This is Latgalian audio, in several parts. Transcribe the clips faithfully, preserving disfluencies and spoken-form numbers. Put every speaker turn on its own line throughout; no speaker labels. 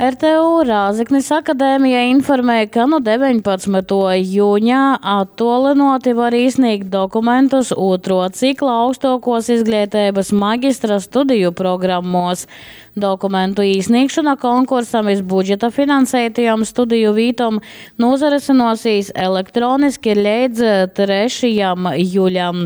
R T U Rāzeknis akadēmija informē, ka nu deveņpadsmytuo juņa attuolynuoti var īsnīgt dokumentus ūtruo cikla augstuokuos izgleiteibys magistra studiju programmuos. Dokumentu īsnīgšona konkursam iz budžeta finanseitajom studiju vītom nūsarysynuosīs elektroniski leidz trešajam juļam.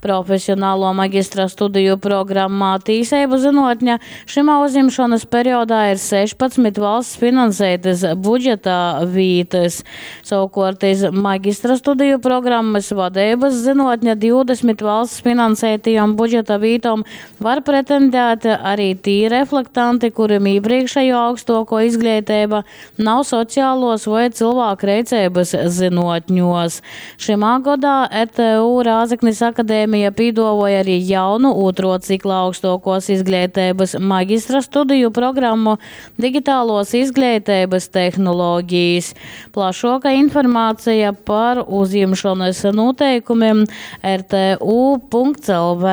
Profesionaluo magistra studiju programmā Tīseibu zynuotne šymā uzjimšonys periodā ir sešpadsmit valsts finanseitys budžeta vītys. Sovukuort iz magistra studiju programmys Vadeibys zynuotne divdesmit valsts finanseitajom budžeta vītom var pretendēt arī tī reflektanti, kurim īprīkšejuo augstuokuo izgleiteiba nav socialuos voi cylvākreiceibys zynuotņuos. Šymā godā R T U Rāzeknis akadēmija pīduovuoja arī jaunu ūtruo cikla augstuokuos izgleiteibys magistra studiju programmu Digitāluos izgleiteibys tehnologijas. Plašuoka informaceja par uzjimšonys nūteikumim R T U punkts L V.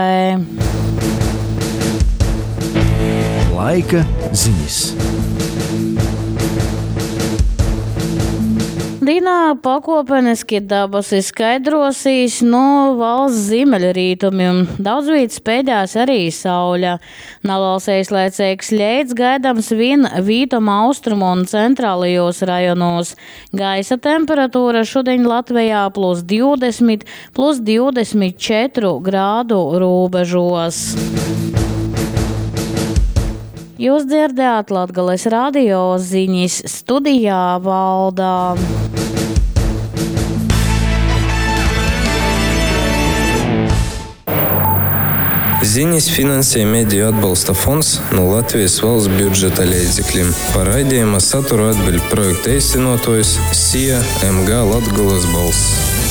Laika zinis.
Dīnā pakuopeniski dabasi skaidrosīs nu valsts ziemeļrietumim. Daudzvīt speidēs arī saule. Naliels eislaicīgs leits gaidams vien vītom austrumu un centrālajos rajonos. Gaisa temperatūra šodien Latvijā plus divdesmit, plus divdesmit četru grādu robežos. Jūs dzirdējāt Latgales radio ziņas studijā Valdā.
Ziņas finansē Mediju atbalsta fonds no Latvijas valsts budžeta līdzekļiem. Par raidījuma saturu atbild projekta īstenotājs S I A M G Latgolas balss.